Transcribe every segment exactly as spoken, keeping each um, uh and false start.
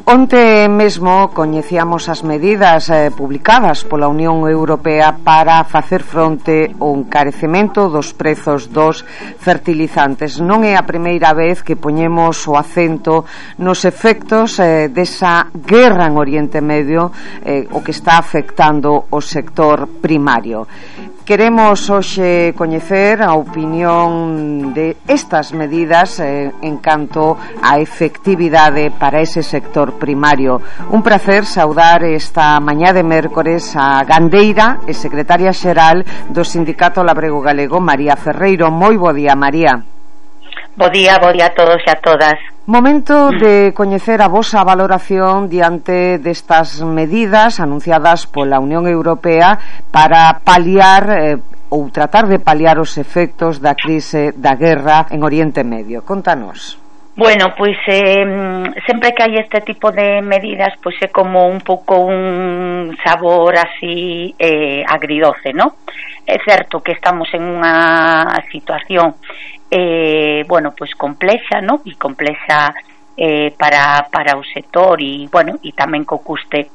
Onte mesmo coñecíamos as medidas eh, publicadas pola Unión Europea para facer fronte ao encarecemento dos prezos dos fertilizantes. Non é a primeira vez que poñemos o acento nos efectos eh, desa guerra en Oriente Medio, eh, o que está afectando o sector primario. Queremos hoxe coñecer a opinión de estas medidas eh, en canto á efectividade para ese sector primario. Un placer saudar esta mañá de mércores a gandeira e secretaria xeral do Sindicato Labrego Galego, María Ferreiro. Moi bo día, María. Bo día, bo día a todos e a todas. Momento de coñecer a vosa valoración diante destas medidas anunciadas pola Unión Europea para paliar eh, ou tratar de paliar os efectos da crise da guerra en Oriente Medio. Contanos. Bueno, pois eh, sempre que hai este tipo de medidas, pois é como un pouco un sabor así eh, agridoce, ¿no? É certo que estamos en unha situación eh, bueno, pois complexa, ¿no? E complexa eh, para, para o sector e, bueno, e tamén co custe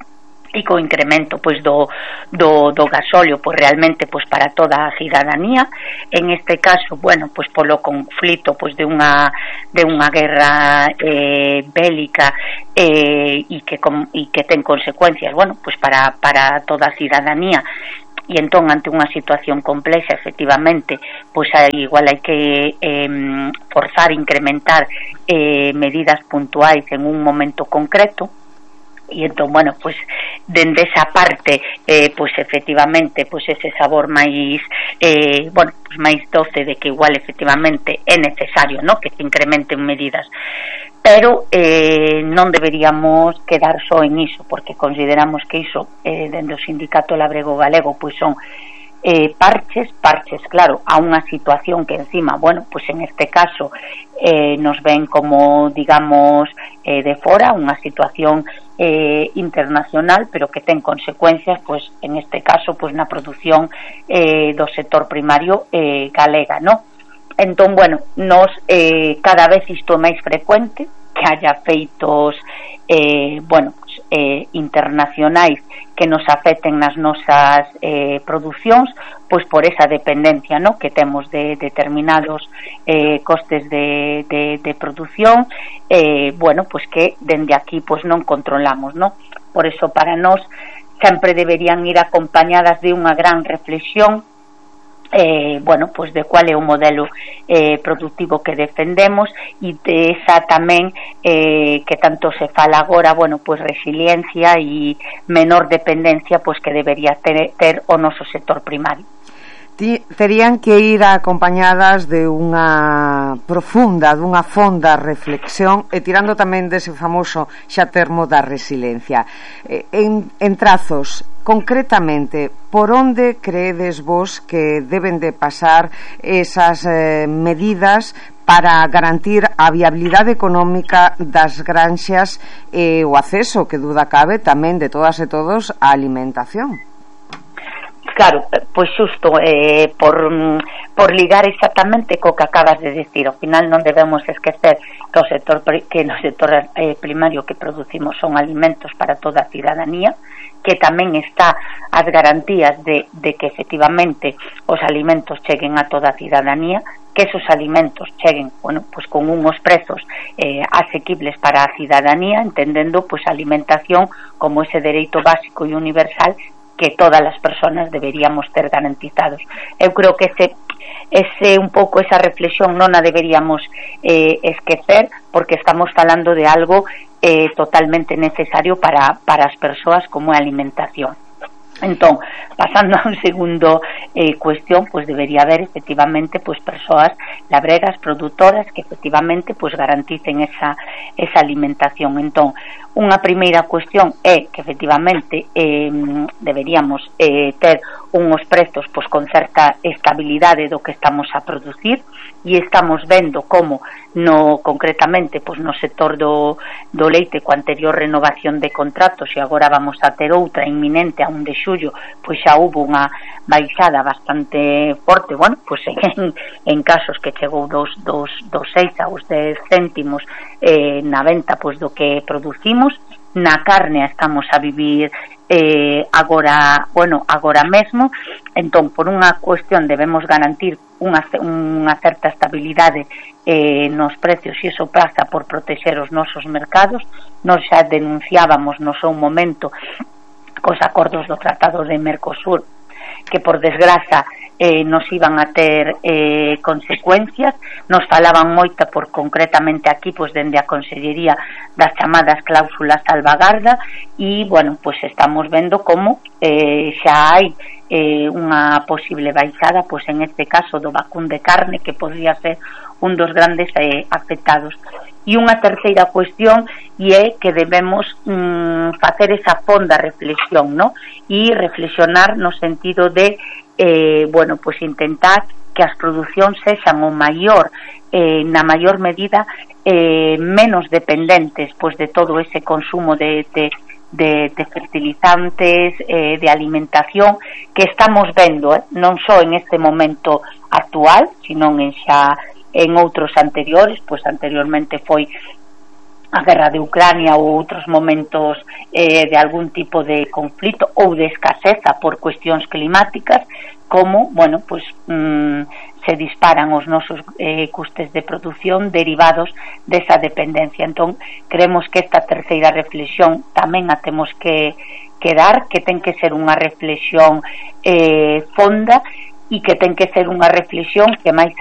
e co incremento pois do, do, do gasóleo pois realmente pois para toda a cidadanía. En este caso, bueno, pois polo conflito pois de unha de unha guerra eh, bélica eh, e que com, e que ten consecuencias, bueno, pois para para toda a cidadanía. E entón, ante unha situación complexa, efectivamente, pois aí, igual hai que eh, forzar, incrementar eh, medidas puntuais en un momento concreto. E entón, bueno, pois dende esa parte eh, pois efectivamente pois ese sabor máis eh, bueno, pois máis doce de que igual efectivamente é necesario, ¿no?, que se incrementen medidas, pero eh, non deberíamos quedar só en iso, porque consideramos que iso eh, dende o Sindicato Labrego Galego pois son eh, parches, parches, claro, a unha situación que encima, bueno, pois en este caso eh, nos ven como, digamos, eh, de fora, unha situación eh, internacional, pero que ten consecuencias, pois en este caso, pois na produción eh, do sector primario eh, galega, ¿no? Entón, bueno, nos eh, cada vez isto é máis frecuente que haya feitos eh, bueno, pues, eh, internacionais que nos afecten nas nosas eh, producións, pois por esa dependencia, ¿no?, que temos de determinados eh, costes de, de, de produción, eh, bueno, pois que dende aquí pois non controlamos, ¿no? Por eso para nós sempre deberían ir acompañadas de unha gran reflexión Eh, bueno, pues de cuál é o modelo eh, productivo que defendemos e de esa tamén eh, que tanto se fala agora, bueno, pues resiliencia e menor dependencia pues que debería ter, ter o noso sector primario. Terían que ir acompañadas de unha profunda, dunha fonda reflexión e tirando tamén dese famoso xa termo da resiliencia. En, en trazos, concretamente, por onde creedes vos que deben de pasar esas eh, medidas para garantir a viabilidade económica das granxas e o acceso, que duda cabe, tamén de todas e todos á alimentación? Claro, pois xusto eh, por, por ligar exactamente co que acabas de decir, ao final non debemos esquecer que o sector que no sector eh, primario que producimos son alimentos para toda a cidadanía, que tamén está as garantías de, de que efectivamente os alimentos cheguen a toda a cidadanía, que esos alimentos cheguen, bueno, pues con unos prezos eh, asequibles para a cidadanía, entendendo pues a alimentación como ese dereito básico e universal que todas as persoas deberíamos ter garantizados. Eu creo que ese, ese un pouco esa reflexión non a deberíamos eh, esquecer, porque estamos falando de algo eh, totalmente necesario para, para as persoas como a alimentación. Entón, pasando a un segundo eh, cuestión, pues debería haber efectivamente pues persoas labregas, produtoras que efectivamente pues garanticen esa, esa alimentación. Entón, unha primeira cuestión é que efectivamente eh, deberíamos eh, ter unhos prezos pois con certa estabilidade do que estamos a producir, e estamos vendo como no concretamente pois no sector do, do leite, coa anterior renovación de contratos, e agora vamos a ter outra inminente a un de xullo, pois xa hubo unha baixada bastante forte, bueno, pois en, en casos que chegou dos, dos, dos seis aos dez céntimos eh, na venta pois do que producimos. Na carne estamos a vivir eh, agora, bueno, agora mesmo, entón por unha cuestión debemos garantir unha, unha certa estabilidade eh, nos precios, e iso pasa por protexer os nosos mercados. Nos xa denunciábamos no seu momento cos acordos do Tratado de Mercosur que por desgraza eh, nos iban a ter eh, consecuencias. Nos falaban moita por concretamente aquí pois dende a Consellería das chamadas cláusulas salvagarda, e bueno, pois estamos vendo como eh, xa hai eh, unha posible baixada pois en este caso do vacún de carne, que podría ser un dos grandes eh, afectados. E unha terceira cuestión, e é que debemos mm, facer esa fonda reflexión, ¿no? E reflexionar no sentido de eh, bueno, pois intentar que as producións sexan o maior eh, na maior medida eh, menos dependentes pois de todo ese consumo de, de, de, de fertilizantes, eh, de alimentación que estamos vendo, eh, non só en este momento actual, sino en xa en outros anteriores, pois anteriormente foi a guerra de Ucrania ou outros momentos eh, de algún tipo de conflito ou de escaseza por cuestións climáticas, como, bueno, pois mmm, se disparan os nosos eh, custes de produción derivados desa dependencia. Entón, creemos que esta terceira reflexión tamén a temos que, que dar, que ten que ser unha reflexión eh, fonda, e que ten que ser unha reflexión que máis